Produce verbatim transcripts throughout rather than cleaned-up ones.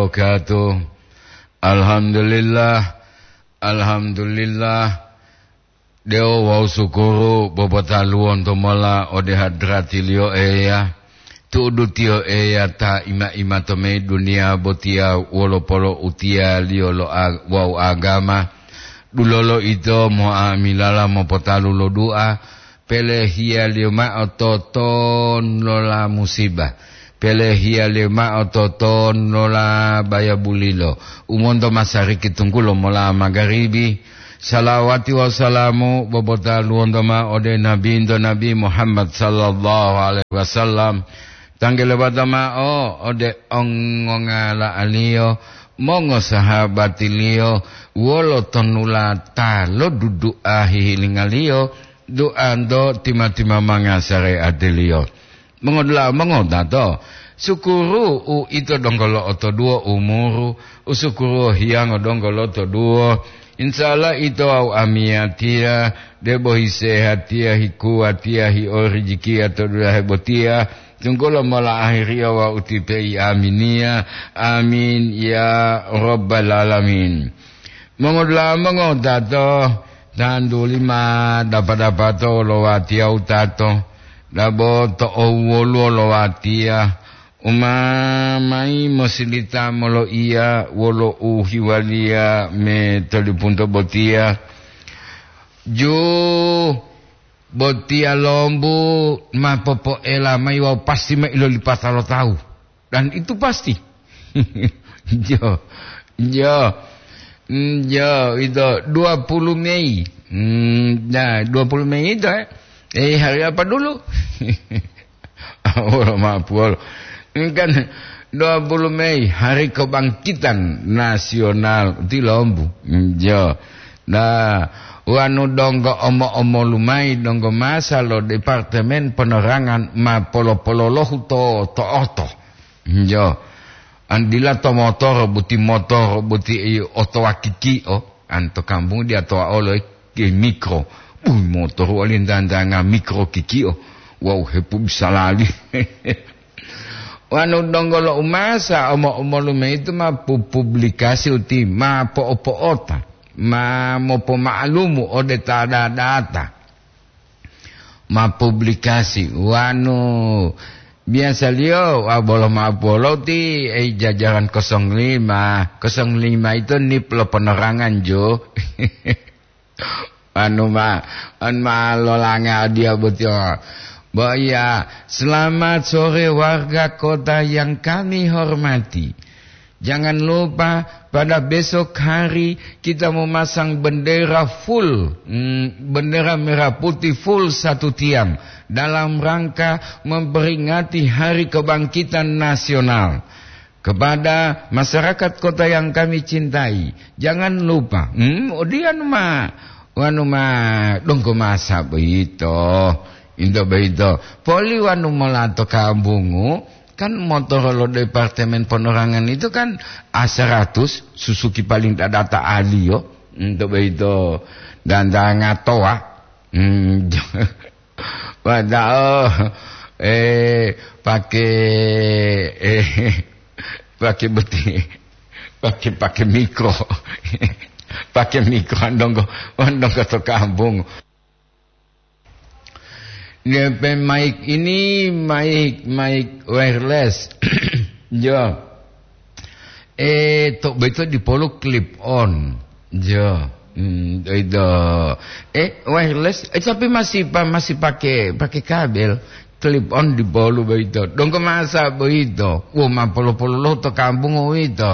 Wabarakatuh. Alhamdulillah, alhamdulillah. Dewo wawu sukuru bobotaluwonto mola ode hadratiliyo Eya, tu'udu tiyo Eya ta ima-ima to meyi duniya botiya wolo polo'utiyaliyo lo a-, wawu agama. Dulolo ito mo'amilala mopotalu lo du'a, pelehiyaliyo ma'o toton lola musiba, pelehiyaliyo ma'o toton lola bayabulilo, u monto masariki tunggulo mola magaribi. Salawati wawu salamu bobotaluwonto ma'o ode Nabinto Nabi Muhammad sallallahu alaihi wasallam, tanggele bata ma'o ode ongongala'aliyo, mongosahabatiliyo, wolo tonula ta lodudu'a hihilingaliyo, duanto tima-timamanga sareatiliyo. Mongodula'a mongotato, sukuru u ito donggo lo'otoduwo umuru, u sukuru hiyango donggo lotoduwo. Insya Allah ito wawu amiyatiya, debo hisehatiya, hikuwatiya, hiorijikiya to dulahe botiya, tunggulo mola ahiriya wawu ti peyi aminiya. Amin ya rabbal alamin. Mongodula'a mongotato, tantuli ma dapa-dapato lo watiya wutato, dabo to owwoluwo lo watiya, u ma mayi mosilita moloiya wolo u hiwaliya me tolipunto botiya. Ju botiya lombu ma popoela mayi wawu pasti ma ilolipata lo tawu. Dan itu pasti. Jo, jo, mm, jo, itu dua puluh Mei. Hmm, nah, dua puluh Mei itu, eh. Eh, hari apa dulu? Wolo mapuwolo. Ini kan dua puluh Mei, hari kebangkitan nasional. Itu lombu. Hmm, jo. Nah, wanu donggo omo-omolu mayi donggo masa lo Departemen Penerangan ma polo-pololohu to, to oto. Njo. An dila to motoro boti, motoro boti, i, otowa kiki'o. An to kampung dia towa olo ke mikro. Bui, motoro wali ndandanga mikro kiki'o. Wau hepu bisa lali. Wanu donggo lo umasa omo-omolu mayi itu ma pu-, publikasi uti ma po'o-po'ota, ma mopoma'alumu ode ta da-, data. Ma publikasi wanu biasaliyo wa bolo ma poloti, eh, jajaran kosong lima. Kosong lima itu nip lo penerangan, jo. Anu ma, an ma lolanga dia boti. Bo iya, selamat sore warga kota yang kami hormati. Jangan lupa pada besok hari kita memasang bendera full, mm, bendera merah putih full satu tiang dalam rangka memperingati Hari Kebangkitan Nasional. Kepada masyarakat kota yang kami cintai, jangan lupa. Hmm, odiyan ma, wanu ma, donggo masa boyito. Into boyito. Poli wanu molato kabungu, kan motoro lo Departemen Penerangan itu kan A seratus, susuki paling dadata aliyo. Into boyito. Dan dangatoa. Hmm, Padahal, eh, pake, eh, pake beti, pake, pake mikro. Pake mikro, andonggo, andonggo to kampung. Depe mic ini, mic, mic wireless. Jo. Eh, to beto dipolu clip on. Jo. Hmm, itu. Eh, wireless, eh, tapi masih pa-, masih pakai, pakai kabel. Clip on dipolu beito. Donggo masa beito. Wo ma polo-polo lo to kampung uwito.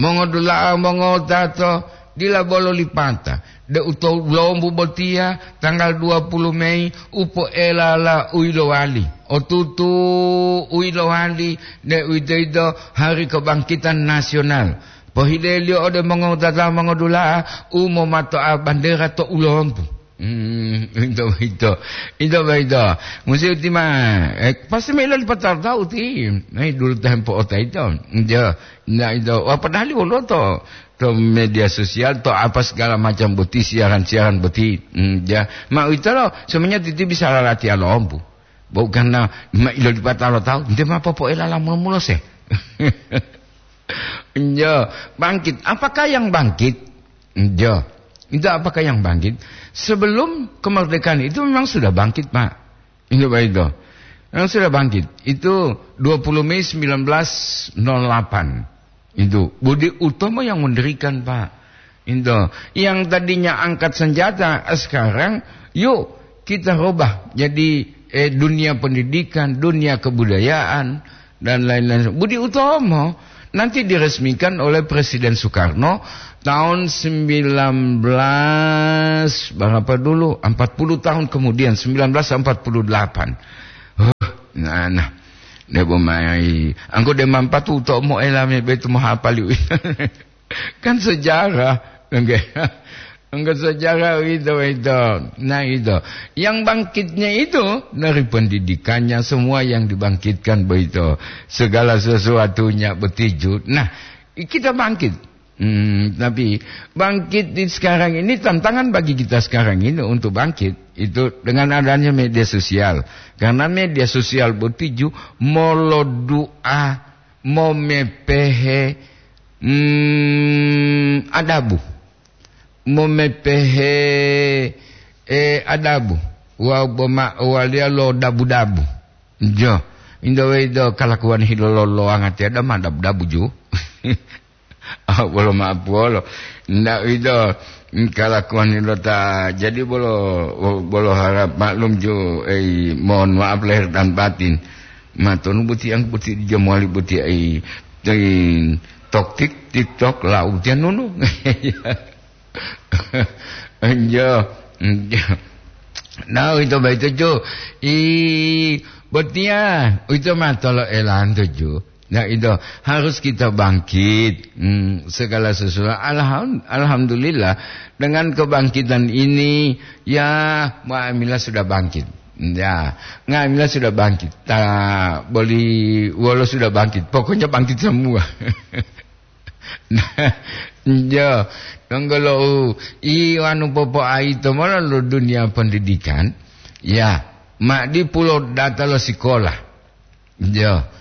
Mongodula'a, mongotato, dila bolo lipata. De uto lombu botiya, tanggal dua puluh Mei, upo'elala u yilowali. Otutu u yilowali, de uwito-yito Hari Kebangkitan Nasional. Pohileliyo ode mongowutata mongodula'a u momato'a bandera to ulompu. Hmm, ito, ito. Ito, ito. Musi uti ma, eh, pasti ma ilo lipatalo tahu ti. Nah, dulu tempo ota ito. Ito. Nah, ito. Wah, padahal wolo to, to media sosial, to apa segala macam boti, siaran-siaran boti. Hmm, ya. Ma uwito lo, semuanya titi bisa lalati alompu. Bukan na, ma ilo lipatalo tahu, nte ma popo'elala mulo-mulo se. Iya, bangkit. Apakah yang bangkit? Iya. Itu apakah yang bangkit? Sebelum kemerdekaan itu memang sudah bangkit, Pak. Itu, Pak, itu. Memang sudah bangkit. Itu dua puluh Mei sembilan belas nol delapan. Itu Budi Utomo yang mendirikan, Pak. Itu. Yang tadinya angkat senjata, sekarang yuk kita rubah jadi, eh, dunia pendidikan, dunia kebudayaan, dan lain-lain. Budi Utomo nanti diresmikan oleh Presiden Soekarno tahun sembilan belas berapa dulu? Empat puluh tahun kemudian, sembilan belas empat puluh delapan. Huh, nah, nah. Debo mai. Angko de mampatu Utomo elame betu mohapali. Kan sejarah, enggak? Enggak, sejarah itu, itu. Nah, itu. Yang bangkitnya itu dari pendidikannya, semua yang dibangkitkan begitu. Segala sesuatunya betiju. Nah, kita bangkit. Hmm, tapi bangkit di sekarang ini, tantangan bagi kita sekarang ini untuk bangkit itu dengan adanya media sosial. Karena media sosial betiju molodu'a, momepehe, hmm, adabu. Momepehe, eh, adabu. Wa boma waliya lo dabu-dabu. Jo. Indo we do kalakuwan hilololoanga tiada ma dabu-dabu ju. Ah, bolo maaf wolo. Ndak ido kalakuwan hilo ta. Jadi bolo, bolo harap maklum ju, eh, mohon maaf lahir dan batin. Matonu buti yang buti di jamwali buti ai. Tin tok tik, tik tok, lau tianunu. Iya, iya. Nah, itu baik itu, Ju. I, botiya, itu mah tolo elanto, Ju. Nah, itu harus kita bangkit. Hmm, segala sesuatu. Alham-, alhamdulillah, dengan kebangkitan ini, ya, nga'amila sudah bangkit. Ya, nga'amila sudah bangkit. Ta, boli wolo sudah bangkit. Pokoknya bangkit semua. Iya, donggo lo u, i anu popoaito mola lo dunia pendidikan. Ya, ma dipulo data lo sikola. Iya.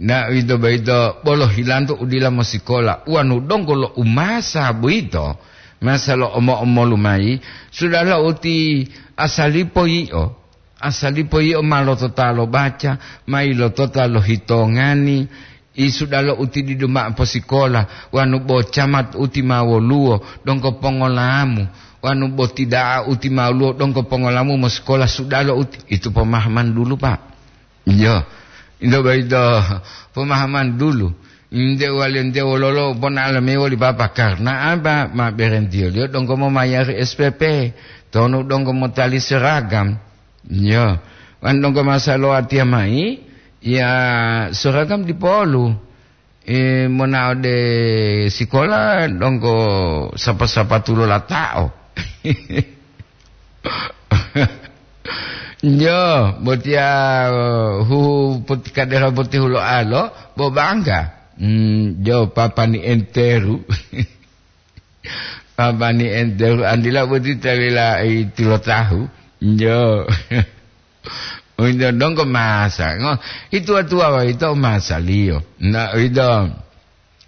Na ito baito bolo hilanto udila mosikola. Wanu donggo lo umasa boyito, masa lo omo-omolu mayi, sudahlah uti asalipo yi'o. Asalipo yi'o ma lotota lo baca, ma ilotota lo hitongani, i sudalo uti didu ma'o posikola, wanu bo camat uti ma woluwo, donggo pongolamu, wanu bo tida'a uti ma woluwo, donggo pongolamu mosikola sudalo uti. Itu pemahaman dulu, Pak. Iya. Ito boyito pemahaman dulu. Nte wali nte wololo pona'alo mayi woli Papa, karna apa? Ma berentiyoliyo donggo momayari S P P, tonu donggo motali seragam. Iya. Wan donggo masa lo watiya mayi, ya seragam dipolu. Eh, monao de sikola donggo sapa-sapatu lo lata'o. Jo, botiya, eh, huhu poti-, kadera potihuloalo, bo bangga. Hmm, jo, papani enteru. Papani enteru, andila boti talila i tilotahu. Jo. Uwito donggo masa. Ngo, ituwa-tuwa wa ito masaliyo. Na, uwito.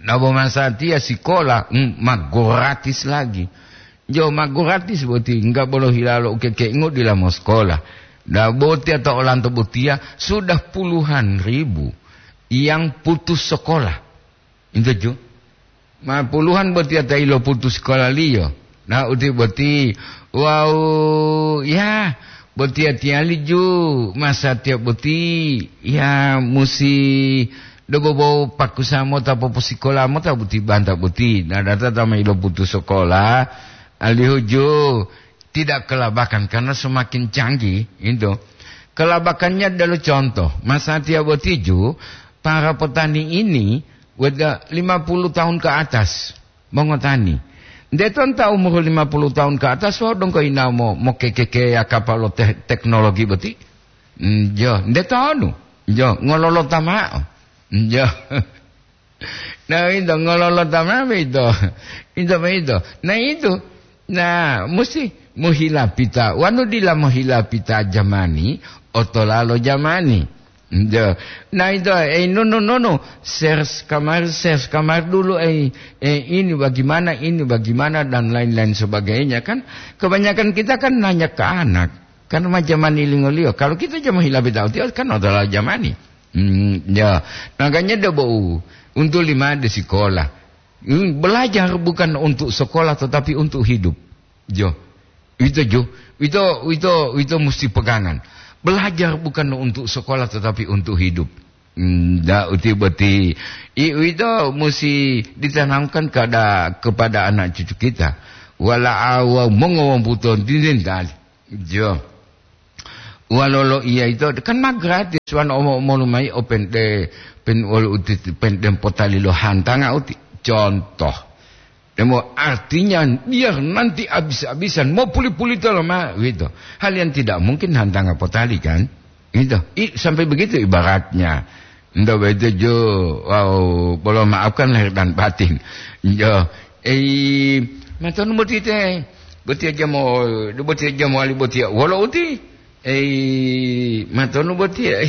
Nabo masatiya sikola, mm, ma gratis lagi. Jo ma gratis boti, enggak bolo hilalo ukekengu dila mosekola. Nabo tiya to olanto botiya sudah puluhan ribu yang putus sekolah. Intu ju. Ma puluhan botiya ta ilo putus sekolaliyo. Na uti boti, wau, ya, botiya tiyali ju, masatiya boti, ya, musi dobobo pakusa mota poposikola mota boti banta boti. Na data ta ma ilo putus sekolah, alihu ju tidak kelabakan karena semakin canggih itu. Kelabakannya adalah contoh, masatiya boti ju, para petani ini weda lima puluh tahun ke atas. Mongotani. Nde tonta umuru lima puluh tahun ke atas, wau donggo inao mo, mokekekeya kapalo te-, teknologi boti? Mm, jo, nde tonu? Jo, ngololota mao. Mm, jo. Nah, itu ngololota mao itu. Itu, itu. Nah, itu. Nah, musti mohilapita. Wanu dila mohilapita jamani, otolalo jamani. Iya. Nah, itu, eh, no, no, no, no. Search kamar, search kamar dulu, eh, eh, ini bagaimana, ini bagaimana, dan lain-lain sebagainya, kan. Kebanyakan kita kan nanya ke anak. Kan macam mani lingoliyo. Kalau kita jama hilabe tau tiyo, kan adalah jamani. Hmm, ya. Makanya dia bau untuk lima di sekolah. Hmm, belajar bukan untuk sekolah, tetapi untuk hidup. Jo. Itu jo. Itu, itu, itu mesti pegangan. Belajar bukan untuk sekolah, tetapi untuk hidup. Hmm, da uti boti. I, itu mesti ditanamkan kepada, kepada anak cucu kita. Wala awa mongowombuton dindin tali. Jo. Walolo iya itu kan ma gratis wan omo-omolu mai open de pen wolu uti pen dem potali lo hantanga uti contoh. Demo artinya biar nanti habis-habisan mau puli-puli tolo ma gitu. Hal yang tidak mungkin hantanga potali kan? Gitu. I, sampai begitu ibaratnya. Nda begitu jo, wow, bolo maafkan lahir dan batin. Jo, eh, matonu boti te, boti aja mau, boti aja mau ali boti wolo uti. Eh, matonu boti ya.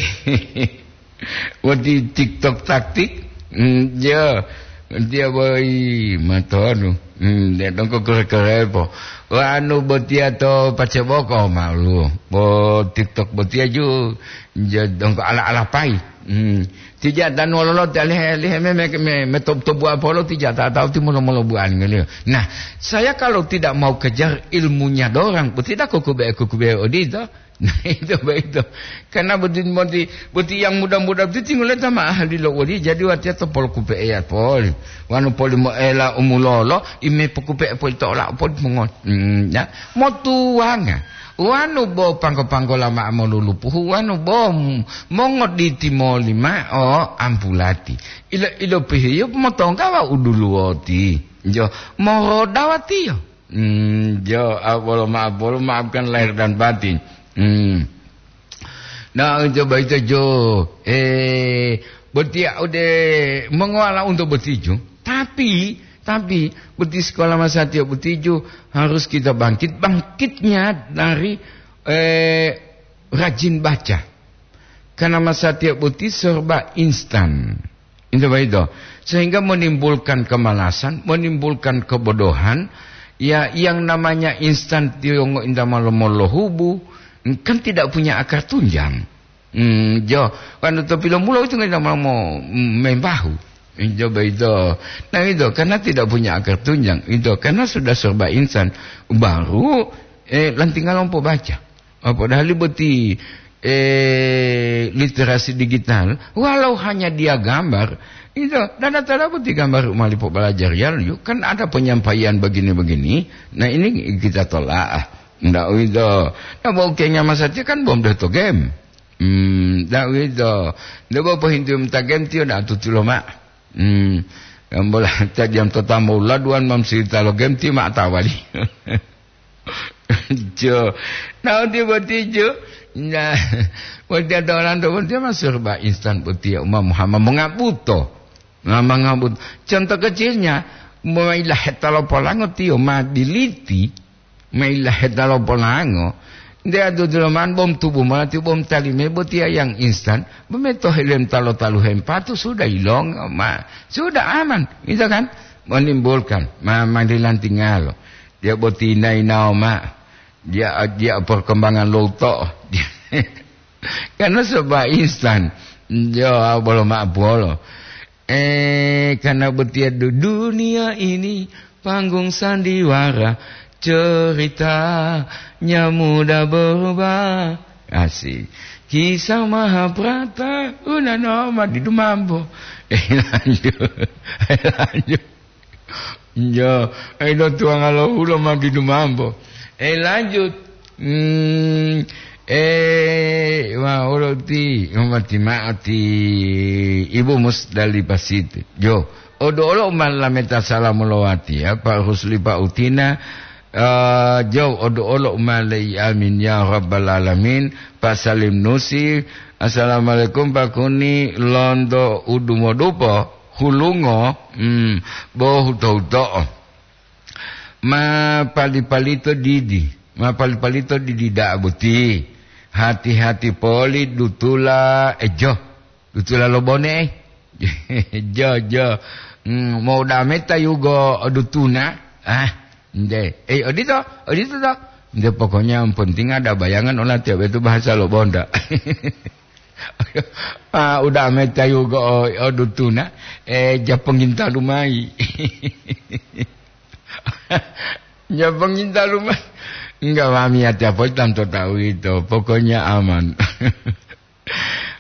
Wati TikTok taktik. Hmm, ya. Dia boy matonu. Hmm, dia dongko kere-kere po. Wanu botia to paceboko malu. Bo TikTok botia ju. Ja dongko ala-ala pai. Hmm. Tija dan wololo talihe lihe me me me, me top top buah polo tija tak tahu timolo molo buah ngeliyo. Nah, saya kalau tidak mau kejar ilmunya dorang, tidak kukube kukube odito. Nah, itu begitu. Karena boti, boti, boti yang muda-muda itu tinggal sama ahli lo wali, jadi watiya to pol kupe eya pol. Wanu poli mo ela umulolo, ime pokupe pol to ola pol mongot. Hmm, ya. Motuwanga. Wanu bo pangko-pangko lama molulupuhu, wanu bo m-, mongoditi molima o ampulati. Ilo, ilo pihiyo motongga wa uduluwoti. Jo, moroda watiyo. Hmm, jo, abolo maaf, bolo maafkan lahir dan batin. Hmm. Nah, coba itu jo, eh, botia udah mengolah untuk botiju. Tapi, tapi, boti sekolah masa tiap botiju harus kita bangkit. Bangkitnya dari, eh, rajin baca. Karena masa tiap boti serba instan. Itu begitu. Sehingga menimbulkan kemalasan, menimbulkan kebodohan. Ya, yang namanya instan tiyongo inta malomo lohubu, kan tidak punya akar tunjang. Hmm, jo, kan to pilomulo itu nggak mau mau membahu. Coba itu. Nah, itu karena tidak punya akar tunjang. Itu karena sudah serba instan. Baru, eh, lantinga lompo baca. Oh, padahal boti, eh, literasi digital, walau hanya dia gambar, itu dana tala boti gambar malipo belajar ya, yuk, kan ada penyampaian begini-begini. Nah, ini kita tolak. Ndak itu. Nah, bau kenya masa tiyo kan bom doh to game. Hmm, ndak itu. Ndak bau pohintu mata game tiyo ndak tutulo mak. Hmm. Yang bola tadi yang tetamo laduan mam cerita lo game tiyo mak tawali. Jo. Nah, uti boti jo. Nah, boti ada orang tu boti masuk ba instan boti ya Umar Muhammad mengabuto. Nah, mengabuto. Contoh kecilnya, mailah hetalo polango tiyo ma diliti, mailah hetalo polango. Dia tu dulaman bom tubuh malah tu bom talime boti yang instan. Bemeto helem talo talu hempatu sudah ilong ma. Sudah aman, gitu kan? Menimbulkan ma, madilan tinggal. Dia boti nai nao ma. Dia, dia perkembangan loto. Karena serba instan. Yo, bolo ma bolo. Eh, karena betia du-, dunia ini panggung sandiwara, ceritanya mudah berubah. Asik. Kisah Mahabharata, una no ma didu mambo. Eh, lanjut. Lanjut. Yo, ilo tuwanga lo ulo ma didu mambo. Eh, lanjut. Hmm, eh, wa, olo ti, mati ma'ati Ibu Musdalifah Siti. Yo, odo olo ma lameta salamu lowati ya, Pak Rusli, Pak Utina. Eh, jo, odo olo ma lei amin ya rabbal alamin. Pak Salim Nusi, assalamualaikum Pak Kuni, londo udumodupo. Hulungo, hmm, bo huto-huto'o. Ma pali-palito didi, ma pali-palito didi da'a boti. Hati-hati poli dutula, eh, jo. Dutula lo bone, eh. Jo, jo. Hmm, mau dame tayugo dutuna. Ah, nde. Eh, odito, odito to. Nde, pokoknya yang penting ada bayangan ola tiap itu bahasa lo bonda. Ah, udah ame tayugo o, o dutuna. Eh, japonginta lumai. Japonginta lumai. Enggak, mami, hati apa tanto tahu itu. Pokoknya aman.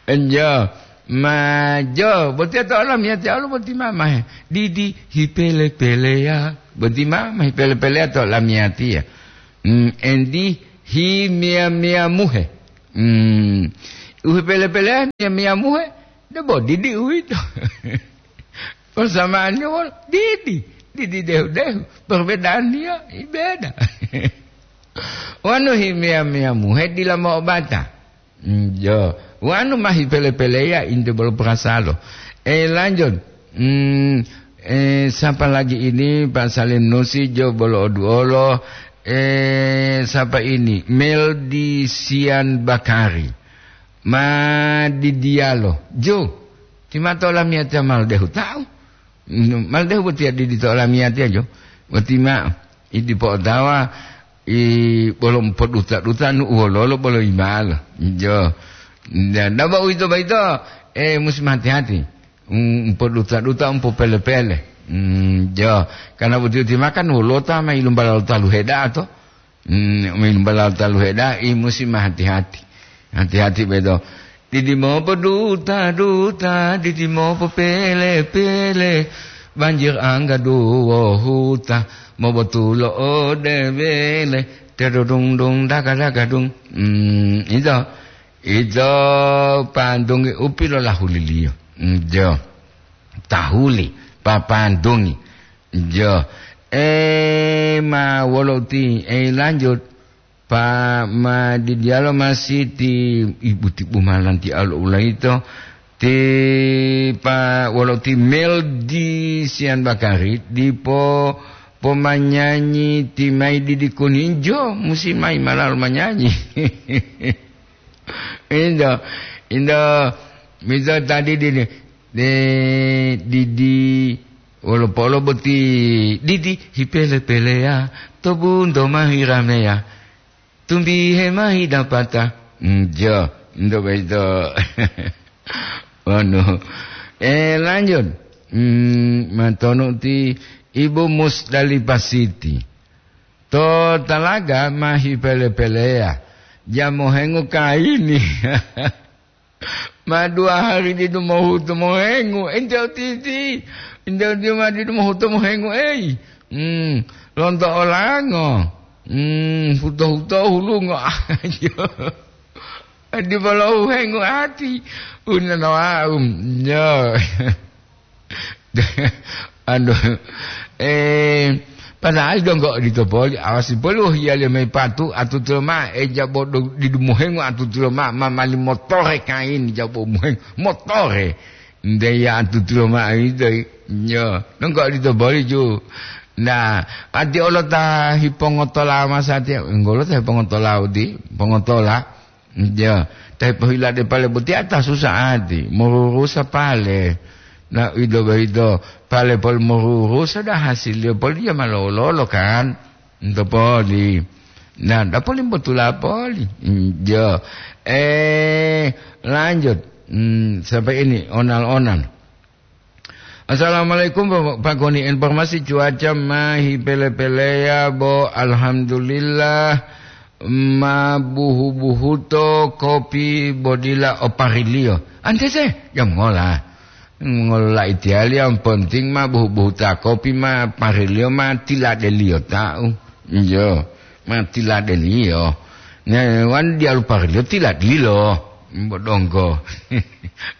Enjo, ma jo, boti to olamiyatiya olo boti mamahe. Didi hipele-peleya, boti mamahe pele-peleya to olamiyatiya. Hmm, endi himiya-miya muhe. Hmm, uhipele-peleya miya-miya muhe, debo didi uwito. Persamaannya wol-, didi, didi dehu-dehu. Perbedaannya beda. Wanu himiya-miya muhe dila mo'obata. Hmm, jo. Wanu mahi pele-peleya inte bolo perasalo. Eh, lanjut. Hmm, eh, siapa lagi ini? Pak Salim Nusi, jo bolo oduolo. Eh, siapa ini? Meldi Sian Bakari. Ma di dialo. Jo. Timatola miyata mal dehu tahu. Hmm, mal dehu botiya di, di tola miyatiya jo. Boti ma, i dipo otawa, i bolo poduta-duta nu uwololo bolo imalo. Jo. Nda-, nda ba uwito baito, eh, musim hati-hati. Um, umpoduta-duta, umpopele-pele. Hmm, jo. Karena boti-boti makan wolota ma ilumbala talu heda to. Hmm, ilumbala talu heda, i musim hati-hati. Hati-hati beto. Didi mopo duta-duta, didi mopo pele-pele. Banjir angga duwo huta, mobotulo ode bele. Tedudung-dung daga-daga dung. Hmm, ito. Ito pandungi upi lo lahuliliyo. Hmm, jo. Tahuli, papandungi. Jo. Eh, ma wolo uti, eh, lanjut. Pa ma di dialo masih ti ibu tibu malanti alo ulaito. Ti pa wolo ti Mel di Sian Bakari, dipo pomanyanyi ti mai didi kuninjo, musi mai malalu manyanyi. Indo, indo, miso tadi dini, de, didi, wolo polo boti, didi, hipele-peleya, to bunto mahi rameya, tumbihe mahi dapata. Njo, ndo beto. Wanu. Eh, lanjut. Hmm, matonu ti Ibu Musdalifah Siti. To talaga mahi pele-peleya. Jamo hengu kaini. Ma dua hari didu mohutu mohengu, ente otiti. Ente otiti ma didu mohutu mohengu, ei. Hmm, lonto olango. Hmm, huto-huto hulungo. Ayo. Di bolo uhengu ati. Unana wau. Yo. Aduh. Eh, padahal donggo odito poli, awasi poli wohiyaliyo mayi patu, atutulo mao, e jabo do-, didu mohengu atutulo mao, ma mali motore kaini jabo mohengu, motore. Nte ya atutulo mao ito, yo, donggo odito poli ju. Nah, ati olo ta hipongotola masatiya, enggolo ta hipongotola udi, pongotola. Ja, ta hipohilade pale botiya ta susa'ati, morurusa pale. Na uwito boyito, pale poli morurusa da hasiliyo poli diya ma lolo-lolo kan? Nto poli. Na, da poli mbotula poli. Ja. Eh, lanjut. Hmm, sampai ini, onal-onal. Assalamualaikum, Pak, Pak Goni. Informasi cuaca mahi pele-peleya, bo, alhamdulillah, ma buhu-buhuto kopi bo dila o pariliyo. Antete, jam ngola. Ngolola itiyali, yang penting ma buhu-buhuta kopi ma pariliyo ma tiladeliyo tau. Iyo. Ma tiladeliyo. Ne, wan diyalu parliyo tiladilo. Bodonggo.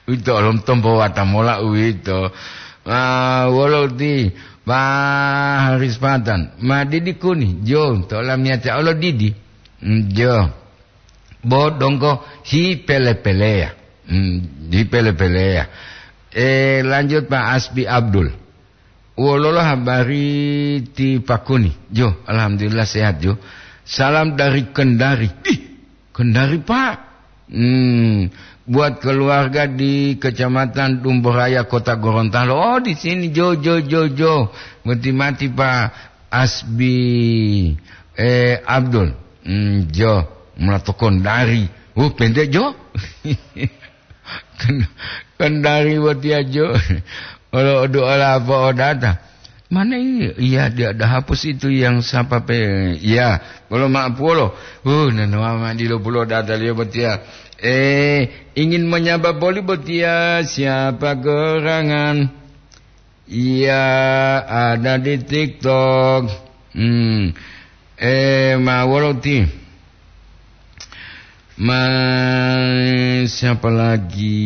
Uwito olom tombo wata mola uwito. Ah, wolo ti, Pak Haris Patan. Ma didi kuni, jo, to lamiyata olo didi. Mm, jo. Bodonggo hi pele-peleya. Mm, hi pele-peleya. Eh, lanjut Pak Asbi Abdul. Wololo habari ti Pakuni? Jo, alhamdulillah sehat, jo. Salam dari Kendari. Ih, Kendari, Pak. Hmm, buat keluarga di Kecamatan Dumbo Raya, Kota Gorontalo. Oh, di sini, jo, jo, jo, jo. Mati-mati, Pak Asbi, eh, Abdul. Hmm, jo, mula to Kondari. Oh, pendek, jo. Ken-, Kondari botiya, jo. Olo odu ola apa odata. Mana ini? Iya, dia ada hapus itu yang siapa pe? Iya, bolo maaf polo. Uh, nanawa ma dilo pulo data liyo botiya. Eh, ingin menyapa poli botiya, siapa gerangan? Iya, ada di TikTok. Hmm. Eh, ma wolo ti? Ma, siapa lagi?